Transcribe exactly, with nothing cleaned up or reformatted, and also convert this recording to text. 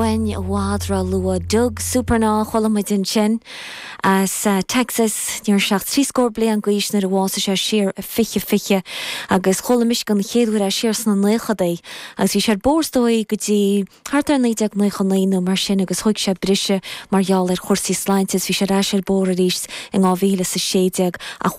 uainn i bhfad róluath Doug Supernaw chuala muid ansin as uh, Texas ní raibh sé ach trí scór bliain d'aois nuair a bhásaigh sé siar fiche fiche agus chuala mise den chéad uair é siar sna nóchaidí agus bhí sé bóstóí go dtí thart ar naoi déag nócha naoi nó mar sin agus thóg sé briseadh mar gheall ar chúrsaí sláinte bhí sé ar ais ar bord arís in dhá mhíle is a sé déag ach